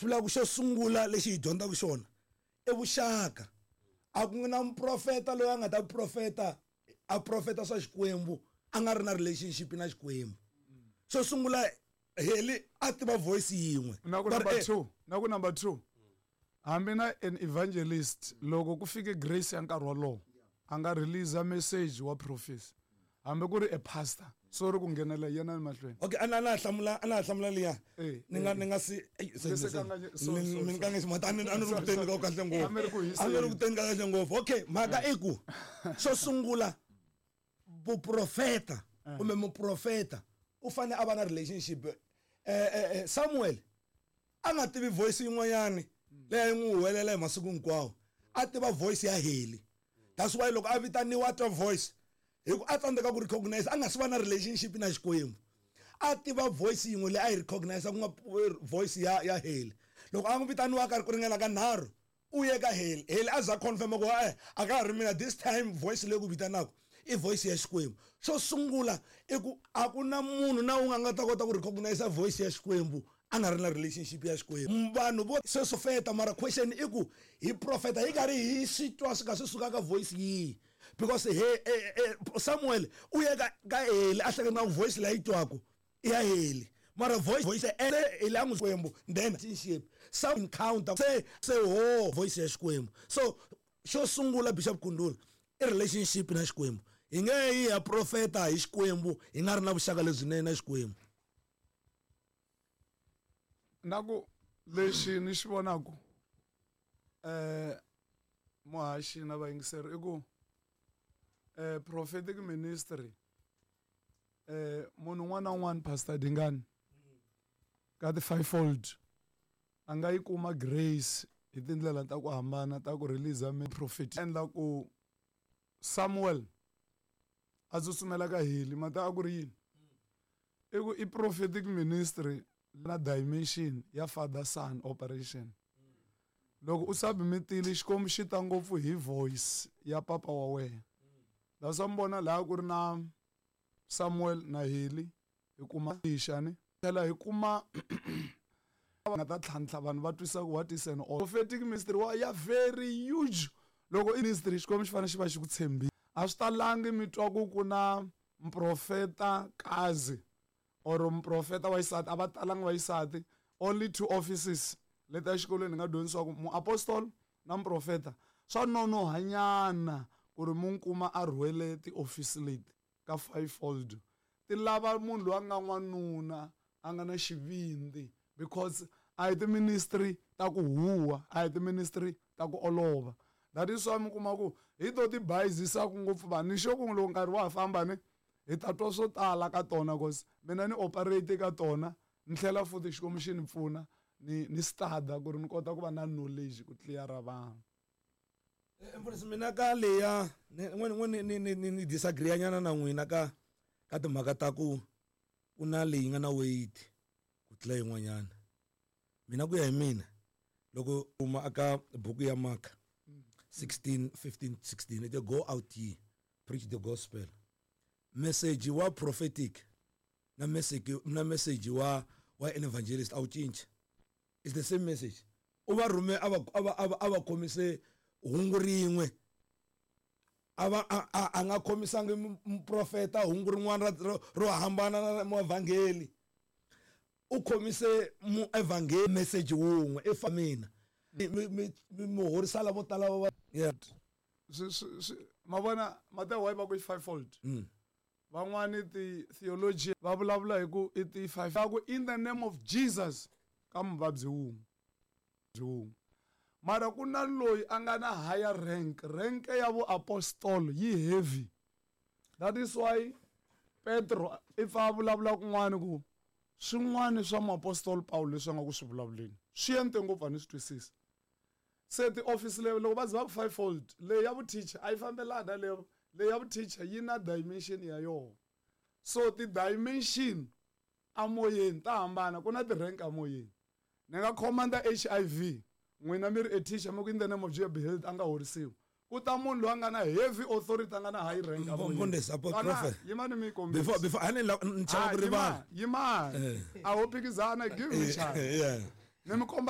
Swi vula ku xo sungula lexi hi dyondzaka xona i vuxaka. A ku na muprofeta loyi a nga ta profeta a profeta swa Xikwembu a nga ri na relationship na Xikwembu. Xo sungula Heli a tiva voice yin'we. Na ku number 2, na ku number 2. Hambi na an evangelist loko ku fike grace ya nkarhi wolowo a nga release message wa prophecy hambi ku ri a pastor sorry ku nghenela yena emahlweni. Okay, ana na hlamula ana hlamula liya. Ni nga ni nga si ni nga nge mata ni ani ri ku teni ka kahle ngopfu. A ni ri ku teni ka kahle ngopfu. Okay, mhaka i ku xo sungula vuprofeta kumbe muprofeta u fanele a va na relationship Samuel a nga tivi voice yin'wanyani leyi a yi n'wi huwelela hi masiku hinkwawo a tiva voice ya Heli. That's why loko a vitaniwa a twa voice hi ku a tsandzeka ku recognize a nga si va na relationship na Xikwembu a tiva voice yin'we leyi a yi recognize ku nga voice ya Heli. Loko a n'wi vitaniwa ka ku ringana ka nharhu u ye ka Heli, Heli a za confirm ku a a ka ha ri mina this time voice leyi ku vitanaka i voice ya Xikwembu. Xo sungula i ku a ku na munhu na un'we a nga ta kota ku recognize voice ya Xikwembu a nga ri na relationship ya Xikwembu. Vanhu vo se profeta mara question i ku hi profeta hi karhi hi swi twa swi ka swi suka ka voice yihi because he Samuel u ye ka Heli a hleketa ku voice leyi twaku i ya Heli mara voice voice Heli a n'wi Xikwembu then relationship some encounter se ho voice ya Xikwembu. So xo sungula Bishop Kundula i relationship na Xikwembu. Hi nge yi ya profeta hi Xikwembu hi nga ri na vuxaka lebyinene na Xikwembu. Na ku lexi ni xi vonaku muhaxi na vayingiseri i ku prophetic ministry munhu un'wana na un'wana Pastor Dingani ka ti fivefold a nga yi kuma grace hi tindlela ta ku hambana ta ku release prophet endla ku Samuel a tsutsumela ka Heli mata a ku ri yini i ku i prophetic ministry na dimension ya father son operation. Loko u submitile Xikwembu xi ta ngopfu hi voice ya papa wa wena. That's why mi vona laha ku ri na Samuel na Heli hi kuma xani tlhela hi kuma va nga ta tlhantlha vanhu va twisa ku what is an prophetic ministry wa ya very huge. Loko i ministry Xikwembu xi fanele xi va xi ku tshembile. A swi talangi mi twa ku ku na muprofeta kazi or muprofeta wa xisati a va talangi va xisati only 2 offices leti exikolweni hi nga dyondzisiwa ku muapostol na muprofeta swa nonohanyana ku ri mu kuma a rhwele tiofisi leti ka fivefold ti lava munhu loyi a nga n'wanuna a nga na xivindzi because a hi ti-ministry ta ku huwa a hi ti-ministry ta ku olova. That is why mi kuma ku hi to ti bayizisaku ngopfu vanhu ni xo ku loko nkarhi wa ha famba ni hi ta twa swo tala ka tona cause mina ni operate ka tona ni tlhela futhi Xikwembu xi ni pfuna ni stada ku ri ni kota ku va na knowledge ku clear-a vanhu. Mfundhisi mina ka leya ni disagree nyana na n'wina ka ka timhaka ta ku ku na leyi nga na weight ku tlula yin'wanyana. Mina ku ya hi mina loko uma aka buku ya Mark 16 15 16 it go out ye preach the gospel. Message wa prophetic na message wa an evangelist a wu cinci. It's the same message. U va rhume a va khomise hungu rin'we. A va a nga khomisangi muprofeta hungu rin'wana ro hambana na muevhangeli. U khomise muevhangeli message wun'we i fa mina. Mi horisa lavo tala va yeah. Ma vona Mateo why va ku i fivefold. Van'wani ti theology va vulavula hi ku i ti five. Va ku in the name of Jesus ka muvabyi wun'we. Wun'we. Mara ku na loyi a nga na higher rank, rank ya vuapostolo yi heavy. That is why Petro i pfa a vulavula kun'wana ku swin'wana swa muapostolo Paulo leswi a nga ku swi vulavuleni swi ente ngopfu a ni swi twisisi. Se ti-office leyo loko va ze va ku fivefold leyi ya vu-teacher a yi fambelani na leyo leyi ya vu-teacher yi na dimension ya yona. So ti-dimension amoyeni ta hambana ku na ti-rank amoyeni. Ni nga commanda HIV n'wina mi ri a teacher mi ku in the name of Jesus be healed a nga horisiwi. Ku ta munhu loyi a nga na heavy authority a nga na high rank amoyeni. Mfundhisi, apo prophet. Yimani mi yi kombisa. Before a ni la ni chava ku rivala. Yimani. A ho phikizana give me chance. Yeah. Ni mi komba